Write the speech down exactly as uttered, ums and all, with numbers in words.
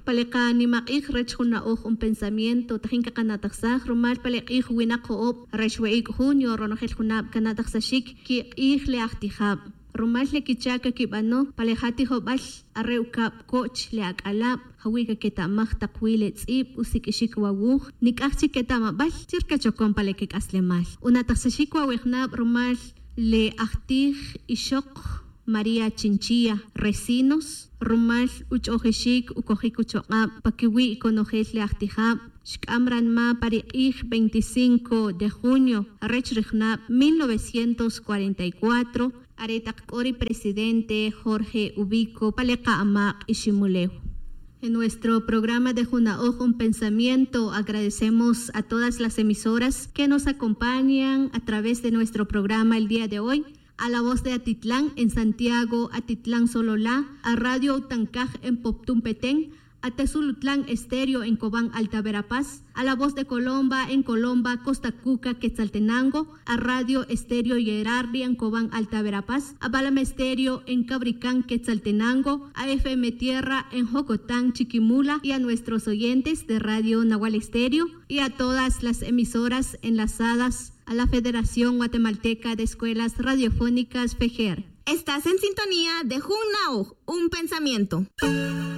Pa le qanimaq'ij rech jun na'oj, un pensamiento, tajin kaqana'tajsaj rumal pa le q'ij winak jo'ob rech we'ic' junio ronojel junab cana'tajsaxic quik'ij le ajtijab. Rumal le quicha' caquibano pa le ja' tijobal, are ucab co'ch le ac'alab, jawi' caqueta'maj tak wi le tz'ib, usiq'uixic wawuj, nic'aj chic queta'mabal chi rcachocon pa le quec'aslemal. Una'tajsaxic wawijnab rumal le ajtij ixok María Chinchilla Recinos rumal uch'ojixic ucojic uchok'ab pa quiwi' conojel le ajtijab. Xc'am ranma pa ri q'ij veinticinco de junio rech ri junab mil novecientos cuarenta y cuatro, are tak c'o ri presidente Jorge Ubico pa le qa'amaq' Iximulew. En nuestro programa de Juna'oj, un pensamiento, agradecemos a todas las emisoras que nos acompañan a través de nuestro programa el día de hoy. A la voz de Atitlán en Santiago, Atitlán Sololá, a Radio Utancaj en Poptún Petén, a Tesulutlán Estéreo en Cobán, Alta Verapaz, a La Voz de Colomba en Colomba, Costa Cuca, Quetzaltenango, a Radio Estéreo Yerardi en Cobán, Alta Verapaz, a Balama Estéreo en Cabricán, Quetzaltenango, a F M Tierra en Jocotán, Chiquimula, y a nuestros oyentes de Radio Nahual Estéreo y a todas las emisoras enlazadas a la Federación Guatemalteca de Escuelas Radiofónicas, FEGER. Estás en sintonía de Jun Na'oj, un pensamiento.